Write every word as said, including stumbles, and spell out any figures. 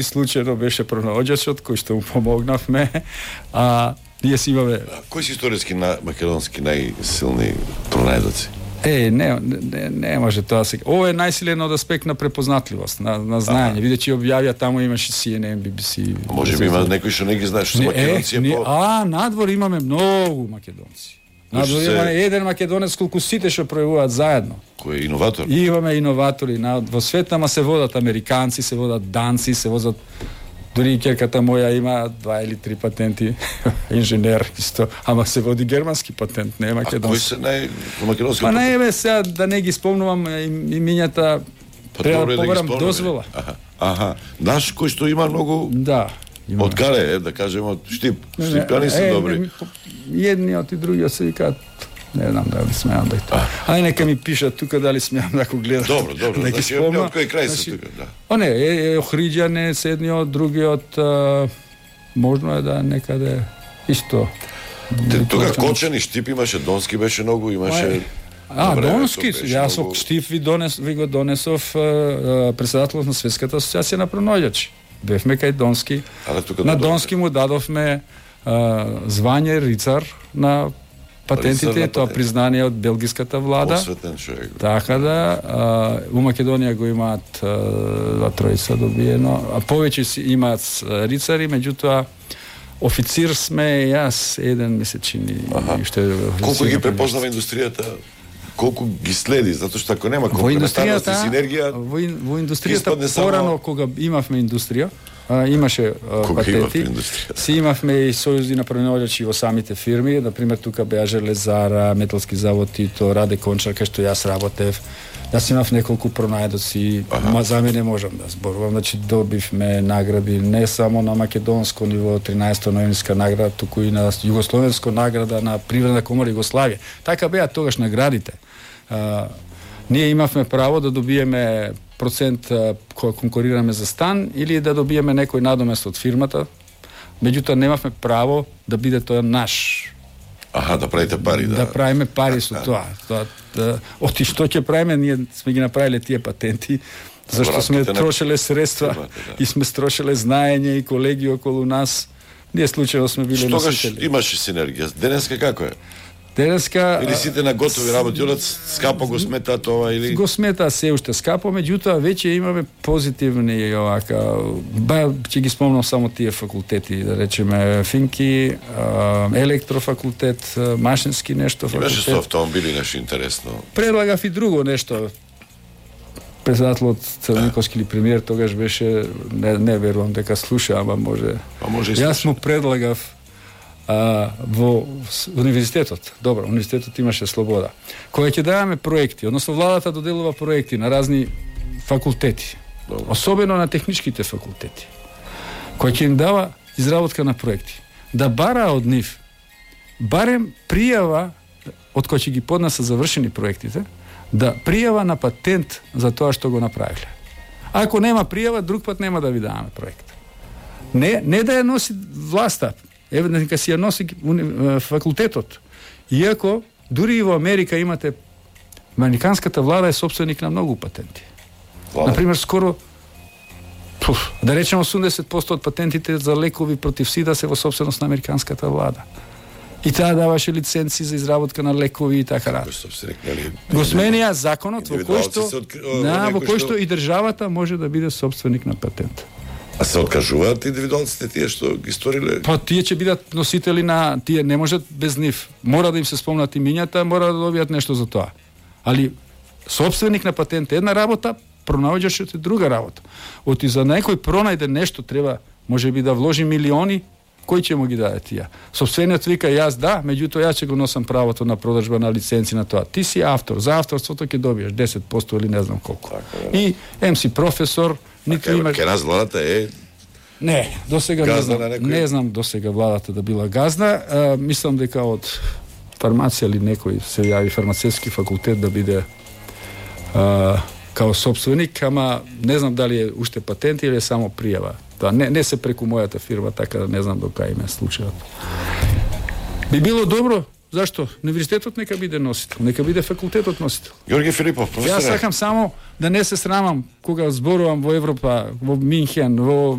случајно беше пронаоѓачот кој што му помогнавме, а ние си имаме... Кои се историски на македонски најсилни пронајдоци? Е, не, не, не може тоа сега. Ова е најсилен од аспект на препознатливост, на, на знаење. Видејќи објавија таму имаше Си Ен Ен, Би Би Си. Може би има некои што не ги знаеш, што се македонци е по... А, надвор имаме многу македонци. Надвор се... имаме еден македонец колку сите што пројавуваат заедно. Кој е иноватор? И имаме иноватори. На, во свет ама се водат американци, се водат данци, се возат... Дори и ќерката моја има два или три патенти, инженер исто, ама се води германски патент, не македонски. А кои се нај македонски? Па не е сега да не ги спомнувам имињата, па, треба да побарам да дозвола. Аха, аха. Наш кој што има многу... Да. Има. Од каде, е, да кажеме, од Штип. Штипјани се е, добри. Едниот и другиот се викаат, не знам дали смеам да и тоа. Ај нека ми пишат тука дали смеам да го гледам. Добро, добро. Да ги значи, спомнам. од кој крај се тука, да. О не, е, е Охриѓане, седниот, другиот, а, можно е да некаде исто. Те, тука Кочани, Штип имаше, Донски беше многу, имаше... А, Добре, Донски, јас со многу... Штип ви, донес, ви го донесов председателот на Светската асоциација на пронаоѓачи. Бевме кај Донски. Але, тука на да Донски му дадовме а, звање рицар на патентите, тоа признание од белгиската влада. Посветен човек. Така да, а, у Македонија го имаат два тројца добиено, а повеќе си имаат рицари, меѓутоа официр сме јас еден месечини. Уште колку ги препознава индустријата? Колку ги следи, затоа што ако нема комплементарност и синергија, во, во индустријата порано само... кога имавме индустрија, а, имаше а, патенти, си имавме и сојузи на пронаоѓачи во самите фирми, например тука беа Железара, Металски завод Тито, Раде Кончар, кај што јас работев. Јас имав неколку пронајдоци, ма за мене можам да зборувам, значи добивме награди не само на македонско ниво, тринаесетта ноемврска награда, туку и на југословенско награда на Привредна комора Југославија. Така беа тогаш наградите. А, ние имавме право да добиеме процент која конкурираме за стан или да добиеме некој надомест од фирмата, меѓутоа немавме право да биде тоа наш. Аха, да правите пари, да. Да правиме пари со тоа. Тоа да, оти што ќе правиме, ние сме ги направиле тие патенти, зашто сме трошеле средства да. И сме строшеле знаење и колеги околу нас. Ние случајно сме биле носители. Штогаш имаше синергија. Денеска како е? Денеска или сите на готови работи, одат скапо го сметаат ова или го сметаа се уште скапо, меѓутоа веќе имаме позитивни овака, ба ќе ги спомнам само тие факултети, да речеме Финки, електрофакултет, машински нешто факултет. Имаше со автомобили нешто интересно. Предлагав и друго нешто. Председателот Црниковски или премиер тогаш беше, не, не верувам дека слуша, ама може. А може и јас му предлагав а, во универзитетот. Добро, универзитетот имаше слобода. Кога ќе даваме проекти, односно владата доделува проекти на разни факултети, добро. Особено на техничките факултети, кој ќе им дава изработка на проекти, да бара од нив барем пријава од кој ќе ги поднесат завршени проектите, да пријава на патент за тоа што го направиле. Ако нема пријава, друг пат нема да ви даваме проект. Не, не да ја носи власта, еве нека си ја носи факултетот. Иако дури и во Америка имате, американската влада е собственик на многу патенти. Wow. Например, скоро пуф, да речеме осумдесет проценти од патентите за лекови против сида се во собственост на американската влада. И таа даваше лиценци за изработка на лекови и така натаму. Го сменија законот во кој што на во кој што и државата може да биде собственик на патент. А се откажуваат индивидуалците тие што ги сториле? Па тие ќе бидат носители на тие, не можат без нив. Мора да им се спомнат имињата, мора да добијат нешто за тоа. Али собственик на патент е една работа, пронаоѓачот е друга работа. Оти за некој пронајде нешто треба можеби да вложи милиони. Кој ќе му ги даде тие? Собствениот вика јас да, меѓутоа јас ќе го носам правото на продржба на лиценци на тоа. Ти си автор, за авторството ќе добиеш десет проценти или не знам колку. Така, и ем си професор, ниту имаш... Ке нас владата е... Не, досега не знам, не знам досега владата да била газна. А, мислам дека од фармација или некој се јави фармацевски факултет да биде а, као собственик, ама не знам дали е уште патент или е само пријава. Тоа не, не се преку мојата фирма, така да не знам до кај ме случајот. Би било добро Зашто? Универзитетот нека биде носител, нека биде факултетот носител. Јорги Филипов, професоре. Јас сакам само да не се срамам кога зборувам во Европа, во Минхен, во